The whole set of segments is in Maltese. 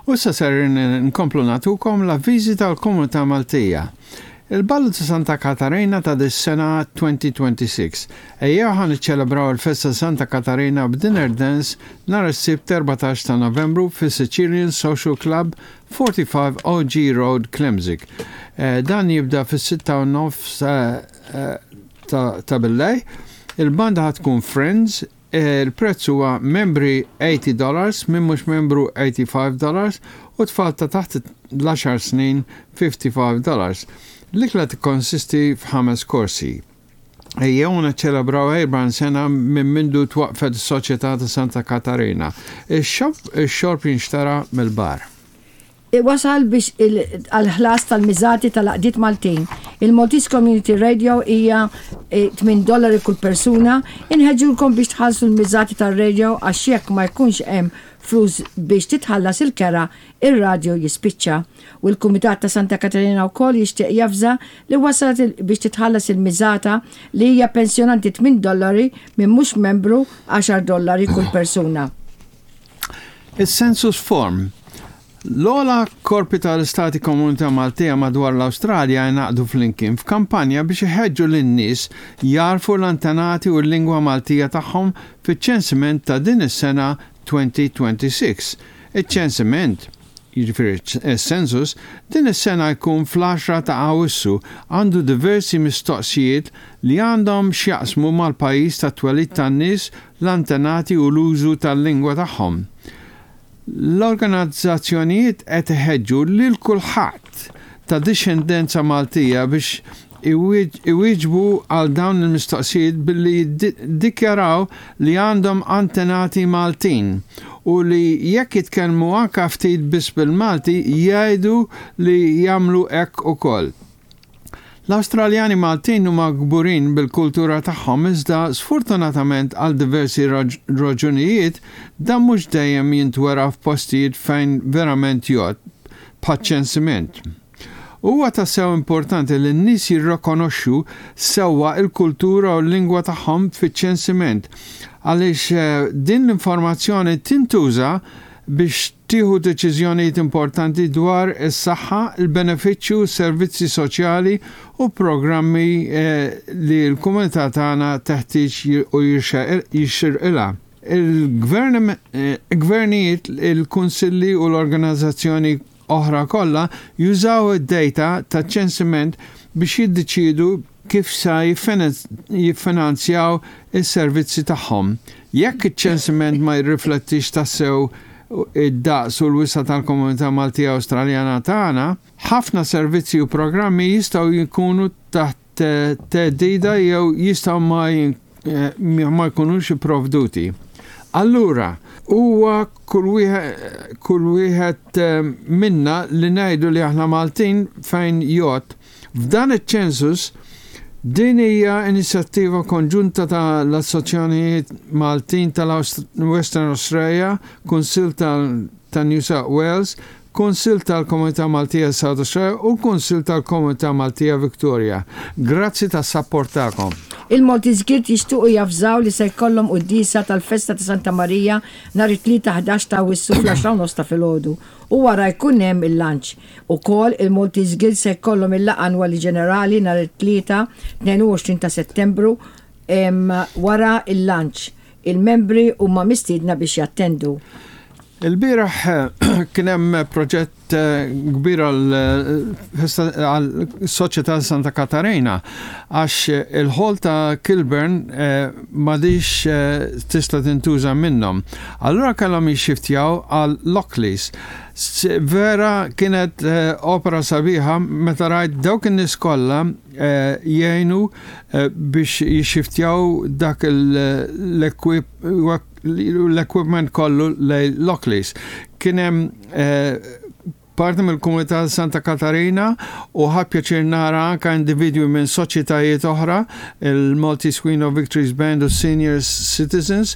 U issa ser nkomplu nagħtukom l-avviżi tal-Komunità Maltija. Il-Ballu ta' Santa Katarina ta' dis-sena 2026. Ejjew ħa niċċelebraw il-festa Santa Katarina b'dinner dance nhar is-Sibt 14 ta' Novembru fis-Sicilian Social Club 45 OG Road, Klemzig. Eh, dan jibda fis-6 u nofs eh, eh, ta' billej. Il-banda ħa tkun Friends, Il-prezz huwa membri 80 dollars, min mhux membru 85 dollars u tfal ta' taħt l-għaxar snin 55 dollars. L-ikla tikkonsisti f'ħames korsi. Ejjew niċċelebraw 40 sena minn mindu twaqqfet is-Soċjetà ta' Santa Katarina. Ix-xorb jinxtara mill-bar. Wasal biex għall-ħlas tal-miżati tal-għaqdiet Maltin. Il-Maltese Community Radio hija 8 dollari kull persuna. Inħeġġulkom biex tħallsu l-miżati tar-radio għax jekk ma jkunx hemm flus biex titħallas il-kera, ir-radio jispiċċa. U l-Kumitat ta' Santa Katarina wkoll jixtieq javża li wasal biex titħallas il-miżata li hija pensjonanti 8 dollari min mhux membru 10 dollari kull persuna. Is-Census Form. L-ogħla korpi tal-Istati Komunità Maltija madwar l-Awstralja ingħaqdu flimkien f'kampanja biex iħeġġu lin-nies jagħrfu l-antenati u l-lingwa Maltija tagħhom fiċ-ċensiment ta' din is-sena 2026. Iċ-ċensiment, jiġifieri s-census, din is-sena jkun fl-għaxra ta' Awwissu, għandu diversi mistoqsijiet li għandhom x'jaqsmu mal-pajjiż tat-twelid tan-nies l-antenati u l-użu tal-lingwa tagħhom. L-organizzazzjonijiet qed iħeġġu lil kulħadd ta' dixxendenza Maltija biex iwieġbu għal dawn il-mistoqsijiet billi jiddikjaraw li għandhom antenati Maltin u li jekk jitkellmu anke ftit biss bil-Malti jgħidu li jagħmlu hekk ukoll. L-Awstraljani Maltin huma kburin bil-kultura tagħhom iżda sfortunatament għal diversi raġunijiet dan mhux dejjem jintwera f'postijiet fejn verament jgħodd, bħaċ-ċensiment. Huwa tassew importanti li n-nies jirrikonoxxu sewwa l-kultura u l-lingwa tagħhom fiċ-ċensiment għaliex din l-informazzjoni tintuża biex tieħu deċiżjonijiet importanti dwar is-saħħa, il-benefiċċju, servizzi soċjali u programmi li l-komunità tagħna teħtieġ u jixirqilha. Il-gvernijiet, il-kunsilli u l-organizzazzjoni oħra kollha jużaw id-data taċ-ċensiment biex jiddeċiedu kif sa jiffinanzjaw is-servizzi tagħhom. Jekk iċ-ċensiment ma jirriflettix tassew id-daqs u l-wisa' tal-komunità Maltija Awstraljana tagħna, ħafna servizzi u programmi jistgħu jkunu taħt theddida jew jistgħu ma jkunux ipprovduti. Allura, huwa kull wieħed minna li ngħidu li aħna Maltin fejn jgħodd F'dan iċ-ċensus, din hija inizjattiva konġunta ta' l-Assoċjonijiet Maltin tal-Western Australia, Kunsill ta' New South Wales, Kunsill tal-Komunità Maltija South Australia u l-Kunsill tal-Komunità Maltija Victoria. Grazzi tas-sapport tagħkom. Il-Maltese Guild jixtiequ javżaw li se jkollhom quddiesa tal-festa ta' Santa Marija nhar it-Tlieta 11 ta' Awwissu fl-għaxra u nofs ta' filgħodu u wara jkun hemm il-lunch. Ukoll, il-Maltese Guild se jkollhom il-laqgħa annwali ġenerali nhar it-Tlieta, 22 ta' Settembru, wara l-lunch. Il-membri huma mistiedna biex jattendu. Il-bieraħ kien hemm proġett kbir għal-Soċjetà Santa Katarina għax il-ħol ta' Kilburn m'għadix tista' tintuża minnhom. Allura kellhom jixxiftjaw għal Lockleys. Vera kienet opera sabiħa meta rajt dawk in-nies kollha jgħinu biex jixxiftjaw dak l-equipment kollu lejn Lockleys. Kien hemm parti mill-komunità Santa Katarina u ħadt pjaċir nara anka individwi minn soċjetajiet oħra, il-Maltese Queen of Victories Band u Senior Citizens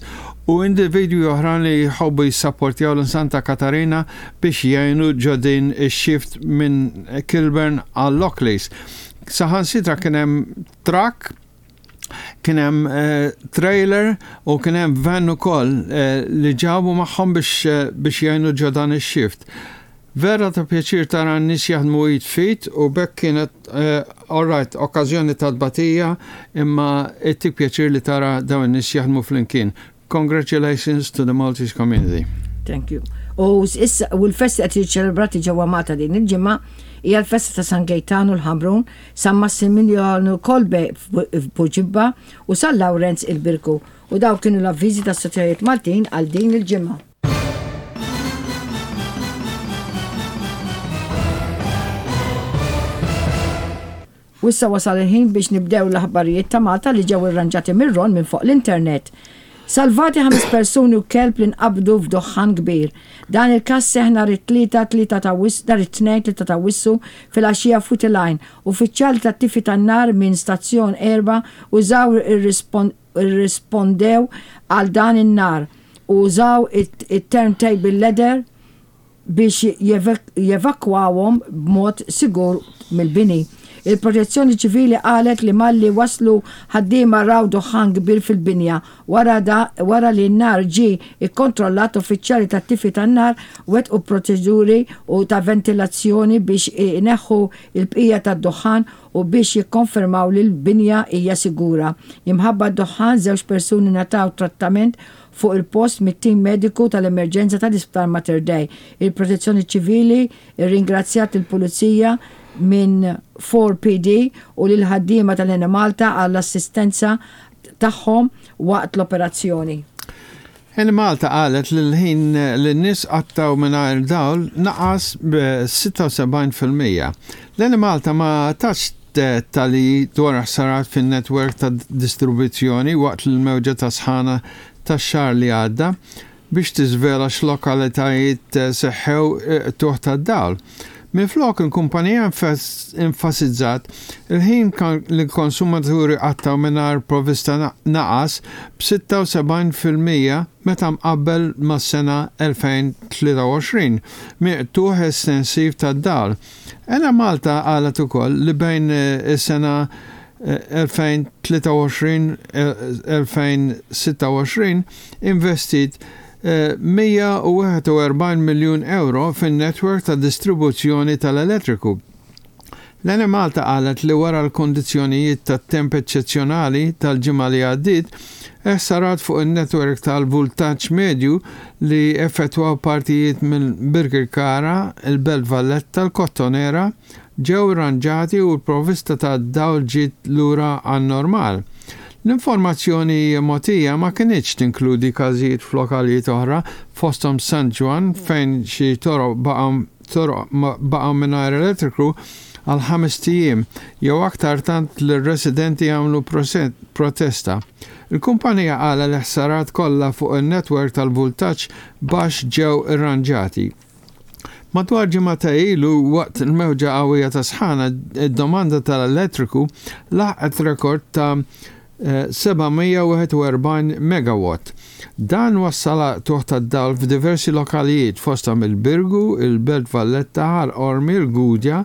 u individwi oħra li jħobbu jissapportjaw l Santa Katarina biex jgħinu ġo din ix-shift minn Kilburn għal Lockleys. Saħansitra kien hemm truck kien hemm eh, trailer u kien hemm van ukoll eh, li ġabu magħhom biex eh, biex jgħinu ġo dan ix-shift. Vera ta' pjaċir tara n-nies jaħdmu id f'id u b'hekk kienet alright okkażjoni ta' tbatija imma ittik pjaċir li tara dawn in-nies jaħdmu flimkien. Congratulations to the Maltese community. Thank you. U issa u l-festi qed jiġu ċelebrati ġewwa Malta din il-ġimgħa hija l-festa ta' San Gejtanu l-Ħamrun, San Massimiljanu Kolbe f'Buġibba u San Lawrenz il-Birgu. U dawk kienu l-avviżi tas-soċjetajiet Maltin għal din il-ġimgħa. U issa wasal il-ħin biex nibdew l-aħbarijiet ta' Malta li ġew irranġati minn Ron minn fuq l-internet. Salvati ħames persuni u kelb li nqabdu f'duħħan kbir. Dan il-każ seħħ nhar it-Tlieta, 3 ta' nhar it-Tnejn, 3 ta' Awwissu, filgħaxija f'Witty Line. Uffiċjali tat-tifi tan-nar minn Stazzjon 4 użaw irrispondew għal dan in-nar u użaw it-turntable ladder biex jevakwawhom b'mod sigur mill-bini. Il-Protezzjoni Ċivili qalet li malli waslu ħaddiema raw duħħan kbir fil-binja. Wara wara li n-nar ġie kkontrollat uffiċjali tat-tifi tan-nar wettqu proċeduri u ta' ventilazzjoni biex ineħħu l-bqija tad-duħħan u biex jikkonfermaw li l-binja hija sigura. Imħabba d-duħħan, żewġ persuni ngħataw trattament fuq il-post mit-tim mediku tal-emerġenza tal-Isptar Mater Dei. Il-Protezzjoni Ċivili rringrazzjat lill-Pulizija minn 4PD u lill-ħaddiema tal-Enemalta għall-assistenza tagħhom waqt l-operazzjoni. Enemalta qalet li l-ħin li n-nies qattgħu mingħajr dawl naqas b'76%. L-Enemalta ma tatx dettalji dwar ħsarat fin-netwerk ta' distribuzzjoni waqt l-mewġa ta' sħana tax-xahar li għadda biex tiżvela x'lokalitajiet seħħew qtugħ tad-dawl. Minflok, il-kumpanija enfasizzat il-ħin li l-konsumaturi qattgħu mingħajr provvista naqas b'76% meta mqabbel mas-sena 2023 minn qtugħ estensiv tad-dawl. Enemalta qalet ukoll li bejn is-sena 2023-2026 investiet 141 miljun ewro fin-netwerk ta' distribuzzjoni tal-elettriku. L-Enemalta qalet li wara l-kundizzjonijiet tat-temp eċċezzjonali tal-ġimgħa li għaddiet, ħsarat fuq in-netwerk tal-vultaġġ medju li effettwaw partijiet minn Birkirkara, il-Belt Valletta, l-Kottonera, ġew irranġati u l-provvista tad-dawl ġiet lura għan-normal. L-informazzjoni mogħtija ma kinitx tinkludi każijiet f'lokalijiet oħra, fosthom San Ġwann fejn xi toroq baqgħu toroq baqgħu mingħajr elettriku għal ħamest ijiem jew aktar tant li r-residenti għamlu protesta. Il-kumpanija qalet li ħsarat kollha fuq in-netwerk tal-vultaġġ baxx ġew irranġati. Madwar ġimgħatej ilu, waqt il-mewġa qawwija ta' sħana, id-domanda tal-elettriku laħqet rekord ta' 741 megawatt. Dan wassal għal qtugħ tad-dawl f'diversi lokalijiet, fosthom il-Birgu, il-Belt Valletta, Ħal Qormi, il-Gudja,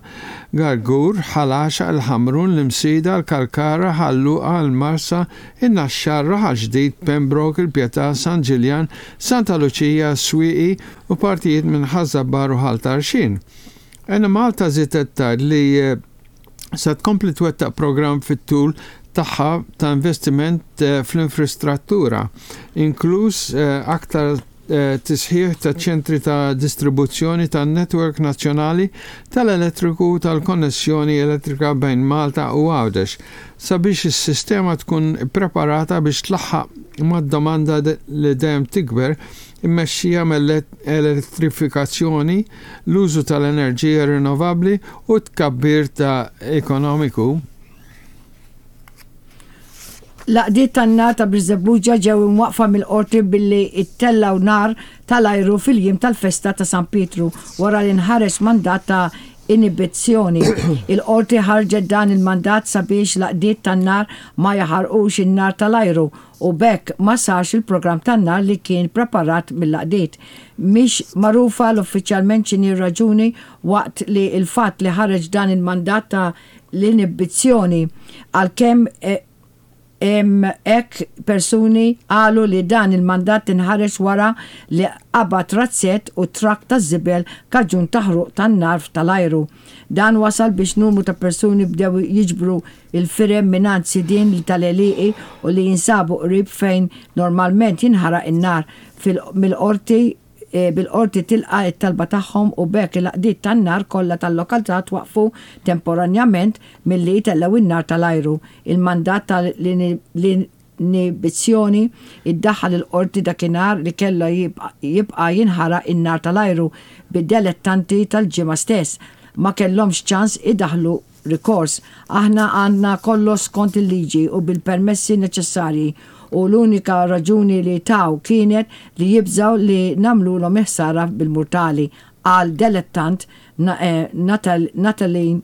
Gargur, Ħal Għaxaq, il-Ħamrun, l-Imsida, il-Kalkara, Ħal Luqa, il-Marsa, in-Naxxar, Raħal Ġdid, Pembroke, il-Pietà, San Ġiljan, Santa Luċija, Swieqi, u partijiet minn Ħaż-Żabbar u Ħal Tarxien. Enemalta żiedet tgħid li se tkompli twettaq programm fit-tul tagħha ta' investiment fl-infrastruttura, inkluż aktar tisħiħ ta' ċentri ta' distribuzzjoni tan-netwerk nazzjonali tal-elettriku u tal-konnessjoni elettrika bejn Malta u Għawdex, sabiex is-sistema tkun ippreparata biex tlaħħaq mad-domanda li dejjem tikber immexxija mill-elettrifikazzjoni, l-użu tal-enerġija rinnovabbli u t-tkabbir ta' ekonomiku. L-għaqdiet tan-nar ta' Birżebbuġa ġew imwaqqfa mill-Qorti billi ttellgħu nar tal-ajru fil-jiem tal-festa ta' San Pietru wara li nħareġ mandat ta' inibizzjoni. Il-Qorti ħarġet dan il-mandat sabiex l-għaqdiet tan-nar ma jaħarqux in-nar tal-ajru u b'hekk ma sarx il-programm tan-nar li kien preparat mill-għaqdiet. Mhix magħrufa l-uffiċjalment x'inhi r-raġuni waqt li l-fatt li ħareġ dan il-mandat ta' l-inibizzjoni għalkemm. Hekk persuni qalu li dan il-mandat inħareġ wara li qabad razzett u trakk taż-żibel kaġun ta' ħruq tan-nar tal-ajru. Dan wasal biex numru ta' persuni bdew jiġbru l-firem mingħand sidien tal-għelieqi u li jinsabu qrib fejn normalment jinħaraq in-nar mill-Qorti bil-Qorti tilqa' t-talba tagħhom u b'hekk il-għaqdiet tan-nar kollha tal-lokalità twaqqfu temporanjament milli jtellgħu n-nar tal-ajru. Il-mandat ta' l-inibizzjoni iddaħħal il-Qorti dakinhar li kellha jibqa' jinħaraq in-nar tal-ajru bid-delettanti tal-Ġimgħa stess ma kellhomx ċans idaħħlu rikors. Aħna għandna kollox skont il-liġi u bil-permessi neċessarji u l-unika raġuni li taw kienet li jibżgħu li nagħmlulhom il-ħsara bil-murtali, qal delettant Nathaline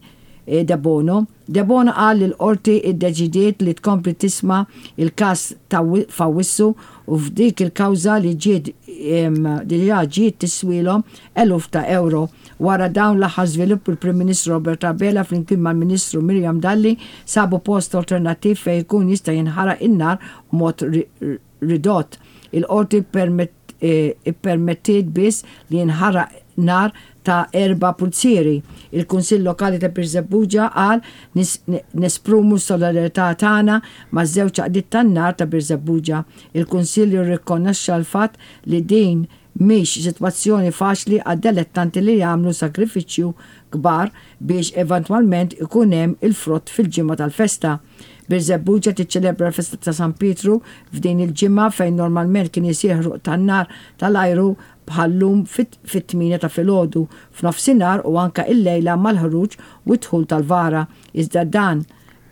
Debono. Debono qal li l-Qorti ddeċidiet li tkompli tisma' l-każ f'Awwissu u f'dik il-kawża li ġiet diġà ġiet tiswielhom eluf ta' ewro. Wara dawn l-aħħar żviluppi l-Prim Ministru Robert Abela flimkien mal-Ministru Miriam Dalli sabu post alternattiv fejn ikun jista' jinħaraq in-nar b'mod ridott. Il-Qorti ppermettiet biss li jinħaraq nar ta' erba' pulzieri. Il-Kunsill Lokali ta' Birżebbuġa qal nesprumu s-solidarjetà tagħna maż-żewġ għaqdiet tan-nar ta' Birżebbuġa. Il-Kunsill irrikonoxxa l-fatt li din Mhix sitwazzjoni faċli għad-delettanti li jagħmlu sagrifiċċju kbar biex eventwalment ikun hemm il-frott fil-ġimgħa tal-festa. Birżebbuġa tiċċelebra l-festa ta' San Pietru f'din il-ġimgħa fejn normalment kien isir ħruq tan-nar tal-ajru bħal-lum fit-tmienja ta' filgħodu, f'nofsinhar u anke illejla mal-ħruġ u d-dħul tal-vara. Iżda dan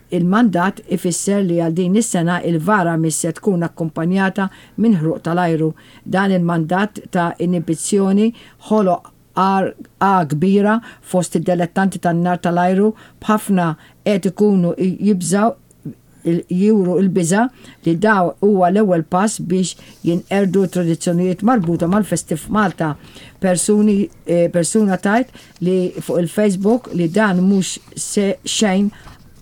Il-mandat ifisser li għal din is-sena il-vara mhix se tkun akkumpanjata minn ħruq tal-ajru. Dan il-mandat ta' inibizzjoni ħoloq għarqa kbira fost id-delettanti tan-nar tal-ajru b'ħafna qed ikunu jibżgħu juru l-biża' li daw huwa l-ewwel pass biex jinqerdu t-tradizzjonijiet marbuta mal-festi f'Malta. Persuni persuna tgħid li fuq il-Facebook li dan mhux se xejn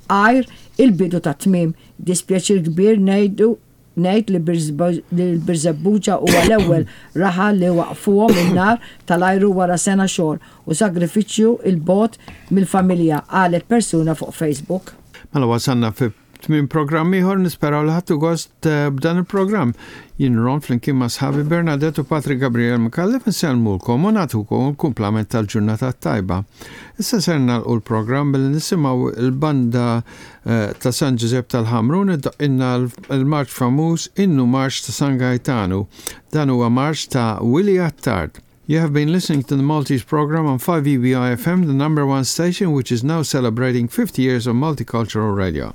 għajr il-bidu tat-tmiem. Dispjaċir kbir ngħidu ngħid li l-Birżebbuġa huwa l-ewwel raħal li waqqfuhom in-nar tal-ajru wara sena xogħol u sagrifiċċju 'il bogħod mill-familja, qalet persuna fuq Facebook. Mela wasalna fi tmiem programm ieħor nisperaw li ħadtu gost eh, b'dan il-programm. Jien Ron flimkien ma' sħabi Bernadette u Patrick Gabriel Micallef insellmulkom u nagħtukom il-kumplament tal-ġurnata tajba. Issa ser nagħlqu l-programm billi nisimgħu il-banda eh, ta' San Ġużepp tal-Ħamrun iddoqqilna l-marċ famuż Innu Marċ ta' San Gaetanu. Dan huwa marċ ta' Willie Attard. You have been listening to the Maltese program on 5EBI FM, the number one station, which is now celebrating 50 years of multicultural radio.